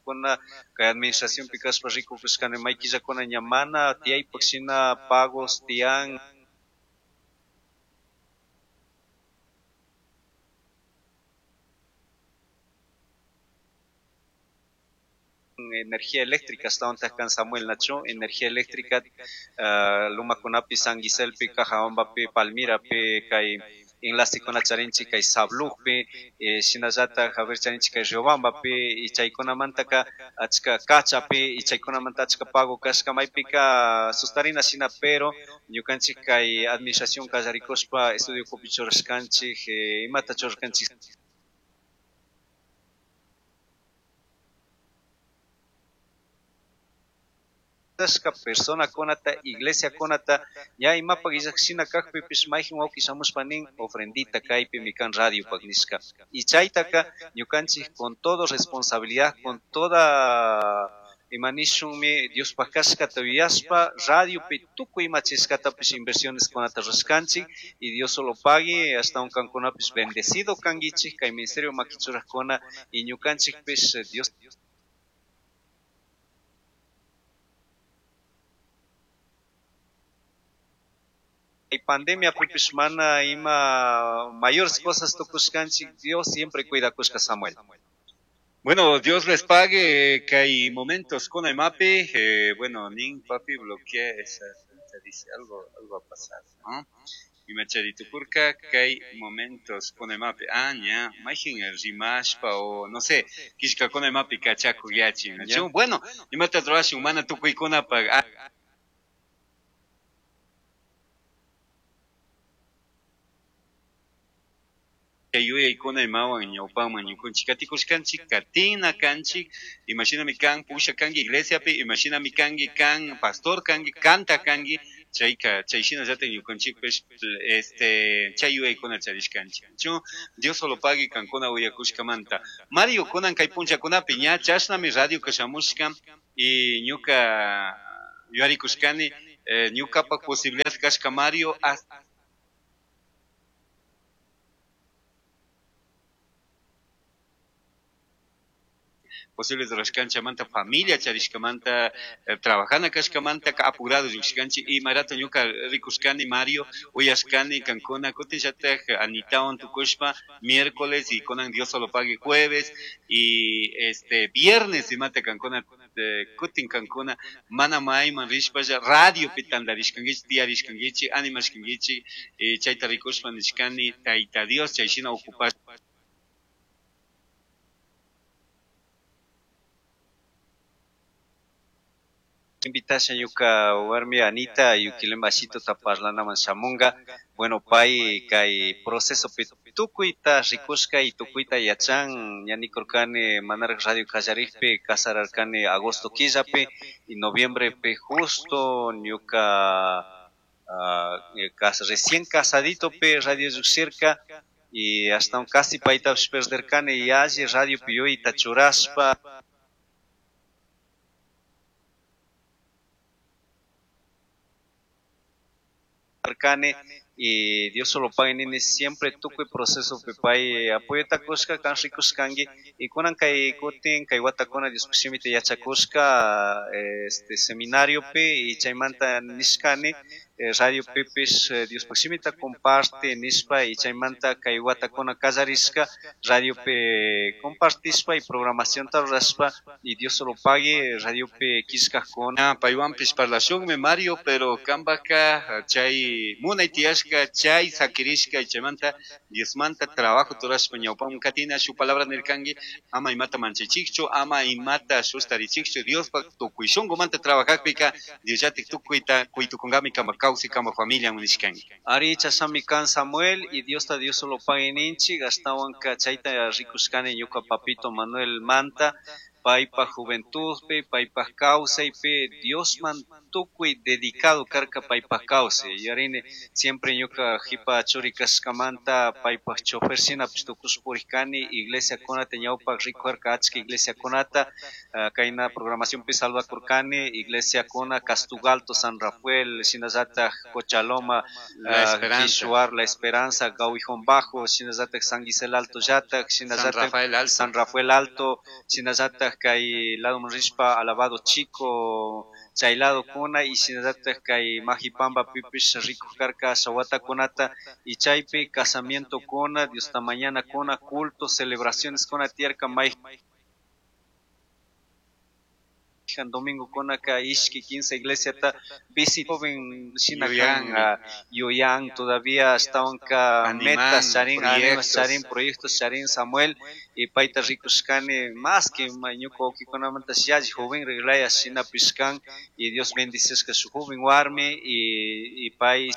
Watakuna kay administracionpi kashpa rikukushkani may killakuna ña mana tiyaypak shina pagos tiyan. Energía eléctrica ashtawantaj kan Samuel nachu energía eléctrica Lumakunapi, San Giselpi, Cajabambapi, Palmirapi, kay enlacekuna charinchik kay Sablujpi, shinallataj a ver charinchik kay Riobambapi, y chaykunamantaka achka Cachapi, y chaykunamanta achka pago kashka maypika sustarina shina, pero ñukanchik kay administración kallarikushpa estudio ukupi churashkanchik, imata churashkanchik. Personakunata, iglesiakunata, ña imapak illak kakpipish mayjin wawki shamushpa nin ofrendita kaypimi kan radiopak nishka. Y chaytaka ñukanchik con todo responsabilidad, con toda imanishunmi Diospak kashkata yuyashpa radiopi tukuy ima chishkatapish inversiones kunata rurashkanchik y Dios solo pague ashtawan kankunapish bendecido kankichik kay ministerio makichurajkuna y ñukanchikpish Dios pandemia pipish mana ima mayores cosas tukushkanchik, Dios siempre cuidakushka, Samuel. Bueno, Dios les pague que hay momentos con el mapi, bueno, nin papi bloquea esa cuenta, dice algo, algo ha pasado, ¿no? Y macharitukurka que hay momentos con el mapi, ah, ña, mayjin rimashpa o no sé, kishka con el mapi kachaku yachi, ¿no? Bueno, imata rurashun mana tukuykunapaq. Yuyaykuna imawan ñawpaman ñukunchik katikushkanchik katina kanchik imashinami kan pusha kanki iglesiapi imashinami kanki kan pastor kanki kanta kanki chayka chay shinallatak ñukanchikpish chay yuyaykuna charishkanchik chu Dios solo pague kankuna uyakushkamanta. Mario, kunan kay punllakunapi ña chashnami radio kashamushka y ñuka yuyarikushkani, ñukapak posibilidad kashka Mario hasta posibles rurashkanchamanta familia charishkamanta, trabajana kashkamanta apurado llushkanchik y marato ñuka rikushkani Mario uyashkani kankuna kutinllatak Anitawan tukushpa miércoles y kunan Dios solo pague jueves y viernes imata kankuna, kutin kankuna mana mayman rishpalla radiopi tantarishkankichik tiyarishkankichik animashkankichik, chayta rikushpa nishkani Tayta Dios chay shina ocupash. Invitasha ñuka warmi Anita Yuquilem Ashitota parlanaman shamunga. Bueno, pay kay procesopi tukuyta rikushka y tukuyta yachan. Ña nikurkani manaraj radio kallarikpi casararkani agosto killapi y noviembrepi justo ñuka recién casaditopi radio llushirka y hasta un casi paytapish perderkani y alli radiopi yuyayta churashpa. Y Dios solo pague nini siempre tukuy proceso pay apoyota kushka kan rikushkanki y kunan kay kutin kay watakuna Dios shimita yachakushka seminariopi y chaymanta nishkani radio pipish Dios shimita comparte nishpa y chaymanta kay watakuna kallarishka radiopi compartishpa y programacionta rurashpa y Dios solo pague radiopi killkajkuna. Ah, paywanpish parlashunmi Mario, pero kambaka chay munay tiyashka chay sakirishka chaymanta Diosmanta trabajo turashpa ñawpaman katina shu palabra nirkanki ama imata manchaychikchu ama imata sustarichikchu Diospak tukuy shunqumanta trabajakpika Diosllatik tukuyta kuytukunkami kamba kawsay kamba familia nishkanki. Ari chasami kan Samuel y Diosta Dios solo pague ninchik ashtawanka chayta rikushkani ñuka papito Manuel Manta paypa juventudpi paypa kawsaypi Diosman tukuy dedicado karka paypa kawsay yarini siempre ñuka jipa churi kashkamanta paypa chofer shinapish tukush purikani iglesiakunata ñawpak rikujarka achka iglesiakunata, kayna programacionpi salvakurkani iglesiakuna Castugalto, San Rafael, shinallatak Cochaloma, La Esperanza. Quishuar, La Esperanza, Gauijón Bajo, shinallatak San Gisel Alto llatak, shinallatak San Rafael Alto. San Rafael Alto, shinallatak Kay ladoman rishpa Alabado Chico chay ladokuna y shinallatak kay Majipambapipish rikuk karka asha watakunata y chaypi casamientokuna, Diosta mañanakuna, culto, celebracioneskuna tiyarka. Mayjan domingokunaka ishki kinsa iglesiata visita. Joven shina kan, yuyan todavía ashtawanka metas charin, animas charin, proyectos charin Samuel, y payta rikushkani más que ñuka wawkikunamanta yalli joven riglaya shinapish kan, y Dios bendicishka su joven warmi y pay.